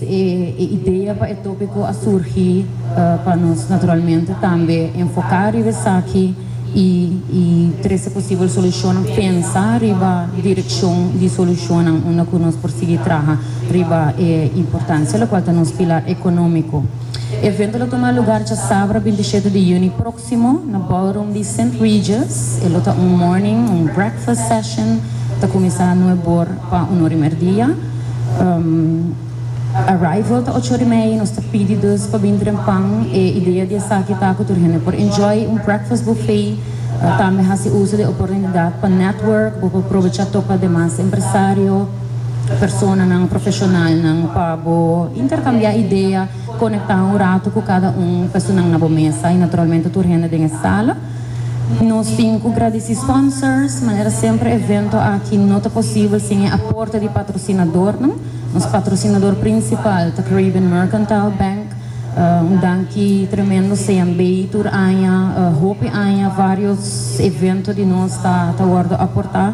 e idea pa e topico a surgi pa nos naturalmente tambe enfoca riba esaki y y trece posibel solucionnan, pensa riba direccion di solucionnan unda cu nos por sigui traha riba e importancia locual ta nos pilar economico. Evento lo tuma lugar djasabra 27 di juni proximo na ballroom di Sint Regis. E lo ta un morning, un breakfast session ta cuminsa nuebor pa un ora y merdia. Arrival ta ocho ora y media, nos ta pidi dus pa bin trempan. E idea di esaki ta cu tur hende por enjoy un breakfast buffet, tambe haci uso di e oportunidad pa network, bo por probecha topa demas empresario, personanan, profesionalnan pa bo intercambia idea, conecta un rato cu cada un personan na bo mesa y naturalmente tur hende den e sala. Nos tin cu gradici sponsors, manera semper evento aki no ta posibel sin e aporte di patrocinadornan. Nos patrocinador principal ta Caribbean Mercantile Bank. Un danki tremendo CMB tur aña, hopi aña varios evento di nos ta ta wordo aporta.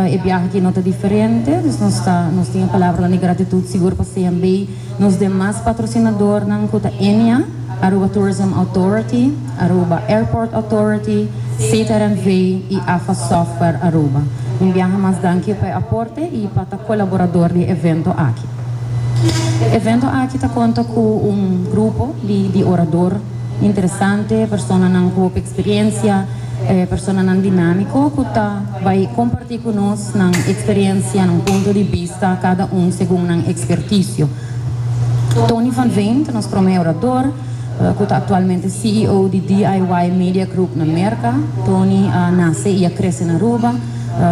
E biaha aki no ta diferente, dus nos ta nos tin e palabranan di gratitud sigur pa CMB. Nos demas patrocinadornan cu ta Ennia, Aruba Tourism Authority, Aruba Airport Authority, CTRNV y AFA Software Aruba. Un biaha mas danki pa e aporte y pa ta colaborador di e evento aki. E evento aki ta conta cu un grupo di di orador interesante, personanan cu hopi experiencia, personanan dinamico cu ta bay comparti cu nos nan experiencia, nan punto di bista, cada un segun nan experticio. Tony van Veen ta nos prome orador, cu ta actualmente CEO di DIY Media Group na Merca. Tony a nace y a crece na Aruba,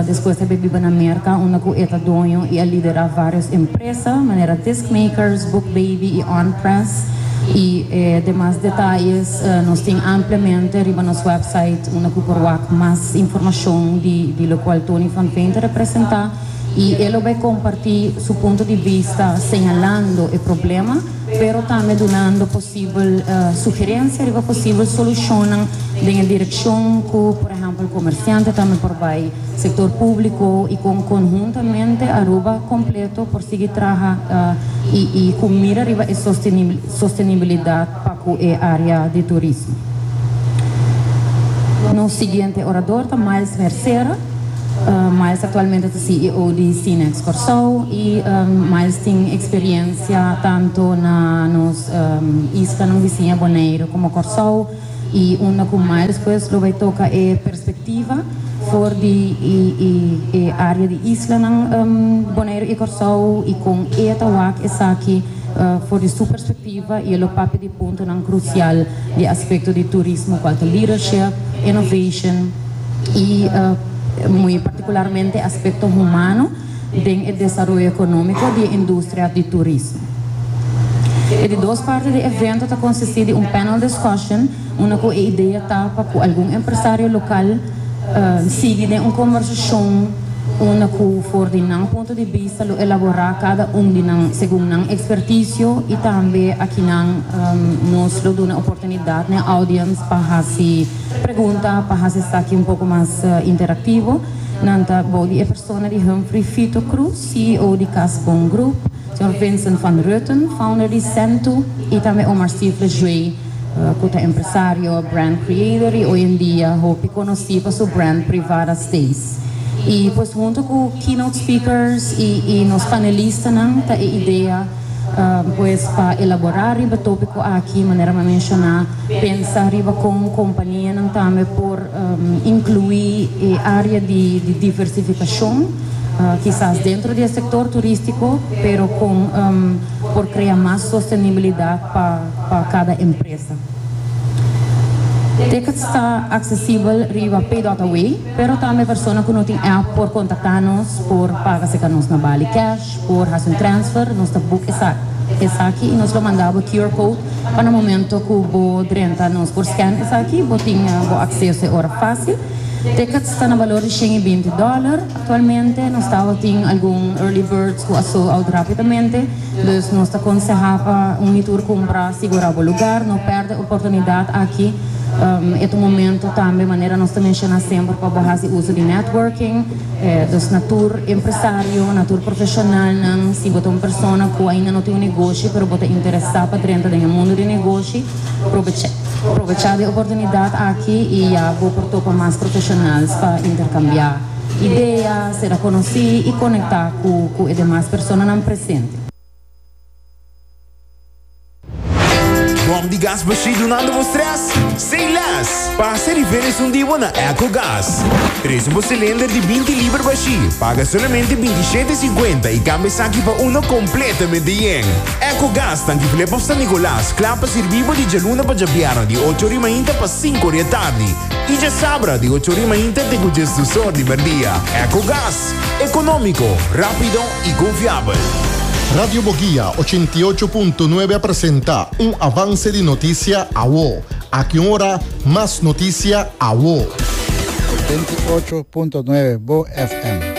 despues a bay biba na Merca unda cu e ta doño y a lidera varios empresa manera Disc Makers, Book Baby y On Press. Y demas detayes nos tin ampliamente riba nos website unda cu por wak mas informacion di locual Tony van Veen ta representa. Y e lo bay comparti su punto di bista señalando e problema, pero tambe dunando posibel sugerencia riba posibel solucionnan den e direccion cu, por ehempel, comerciante tambe por bay, sector publico y con conhuntamente Aruba completo por sigui traha y y cu mira riba e sostenibilidad pa cu e area di turismo. Nos siguiente orador ta Miles Mercera. Miles actualmente ta CEO di Cinex Kòrsou y Miles tin experiencia tanto na nos islanan bisiña Boneiru como Kòrsou y unda cu Miles pues lo bay toca e perspectiva for di e area di islanan Boneiru y Kòrsou y con e ta wak esaki for di su perspectiva y e lo papia di puntonan crucial di aspecto di turismo cual ta leadership, innovation. y muy particularmente aspecto humano den e desaroyo economico di e industria di turismo. E di dos parti di e evento ta consisti di un panel discussion unda cu e idea ta pa cu algun empresario local sigui den un conversacion unda cu for di nan punto di bista lo elabora cada un di nan segun nan experticio y tambe akinan nos lo duna oportunidad na e audience pa haci Pregunta pa hasi esaki un poko mas interactivo. Nan ta bou di e persona di Humphrey Fito Cruz, CEO di Cas Bon Group, señor Vincent van Rutten, founder di Sentu, y tambe Omar Stifler Jue, cu ta empresario, brand creator y hoy en dia hopi conoci pa su brand Privada Stays. Y pues hunto cu keynote speakers y y nos panelistanan ta e idea Pues pa elaborá riba tópiko aki, manera mi a menshoná, pensa riba kon kompanianan tambe por inkluí e área di diversifikashon, kisas dentro di e sektor turístiko, pero kon por krea mas sostenibilidat pa kada empresa. Tickets ta aksesibel riba Pay.away, pero tambe persona ku no tin app por kontaktá nos por paga serka nos na Bali Cash. Por haci un transfer, nos ta book esaki y nos lo manda bo QR code pa na momento cu bo drenta nos por scan esaki, bo tin bo acceso e ora facil. Tickets ta na balor di 120 dollar actualmente, nos tabatin algun early birds cu a sold out rapidamente, dus nos ta conseha pa un y tur cumpra sigura bo lugar, no perde oportunidad aki. E ta un momento tambe, manera nos ta menciona semper, pa bo haci uso di networking. Dus na tur empresario, na tur profesionalnan, si bo ta un persona cu ainda no tin un negoshi pero bo ta interesa pa drenta den e mundo di negoshi, probecha probecha di e oportunidad aki y ya bo por topa mas profesionals pa intercambia idea, sera conoci y conecta cu cu e demas personanan presente. Bom di gas bashí dunando bo stress? Say less! Pasa riba esun di bo na Ecogas. Trese bo cilinder di 20 liber bashí, paga solamente 27,50 y cambia esaki pa uno completamente yen. Ecogas tanki Flip of San Nicolas, kla pa sirbi bo di djaluna pa djabièrnè di ocho ori mainta pa sinku ori atardi y djasabra di ocho ori mainta te ku djesdus or di merdia. Ecogas, economico, rapido y confiabel. Radio Boguia 88.9 a presenta un avance di noticia awo. Aki un ora, mas noticia awo. 88.9 Bo FM.